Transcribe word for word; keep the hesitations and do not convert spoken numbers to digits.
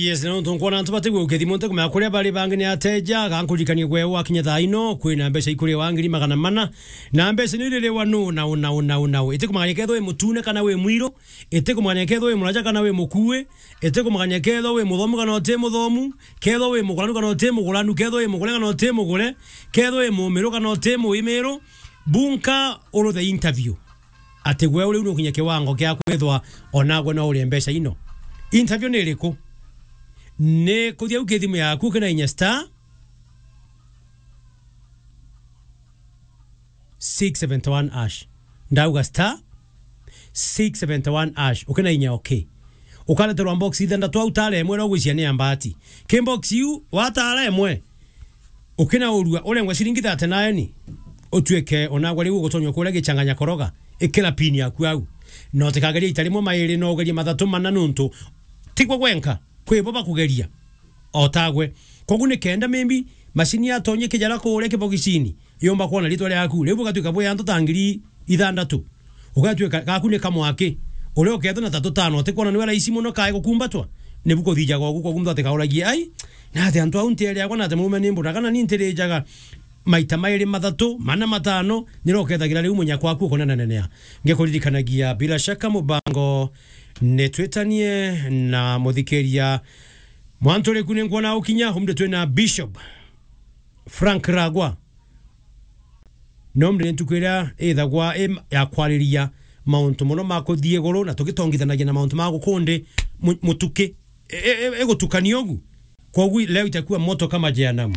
Yes, na nontu nkwona antu batigwe ukethimo nte kumenya kuria bari bangi ni ateja, gankurikanie gwe wakinya thaa ino, kwina mbeca ikuri wa ngiri magana mana, na mbeca ni riri wa nu, na u, na u, na u, na u. Iti kumagania kethwa wi mutune kana wi mwiru, iti kumagania kethwa wi muraja kana wi mukui, iti kumagania kethwa wi muthomu kana uti muthomu, kethwa wi muguranu kana uti muguranu, kethwa wi mugure kana uti mugure, kethwa wi mumiru kana uti muimiru, bunka uru the interview. Ati gwe uri nukinya kiwango kia kwithwa onagwe no urie mbeca ino. Interview ni iriku? Ni kuthia u kithimu yaku ukinainya star six seventy one hash. Ndauga star six seventy one hash. Ukinainya okay. Ukareterwa box ithanthatu au tara imwe ria ugwiciria ni ya mbati. Ki box iu watara imwe, ukinaurua urengwe ciringi thirty nine, utuike onagwe riu ugutonya kuria gichanganya koroga, ikira pin yaku au. Na utikageria ita rimwe mairi, no ugerie mathatu mana nuntu tigwe gwenka, kwi bo bakugeria otagwe. Kogu ni kenda maybe macini yatonye kijara kuria kibogicini, yomba kwona ritwa riaku, riu bugatuika bwi antu ta ngiri ithanthatu. Ugatuika gaku ni kamwaki. Uria ukethwa na tatu tano, utikwona niwe raisi muno kae gukumbatwa? Nibu kuthijaga ugu, kogu muntu atikauragie, "Ai, na ati antu au ntiere akwa, na ati murume ni mbura, kana ni ntirijaga?" Maita mairi, mathatu, mana, matano, niro ukethagira riu munyakwa aku ukonananenea. Ngikuririkanagia, bila shaka, mubango ni twitanie na muthikiria. Mwantu riku ni nkwona ukinya, umri twina Bishop Frank Ragwa. No mri ntuku iria ithagwa i ya kwariria mauntu mono ma kuthii iguru, na tugitongithanagia na mauntu ma gukundi mu-, mutuki, e, e, e, igutukania ugu. Kogu leo itakuwa moto kama jehanamu.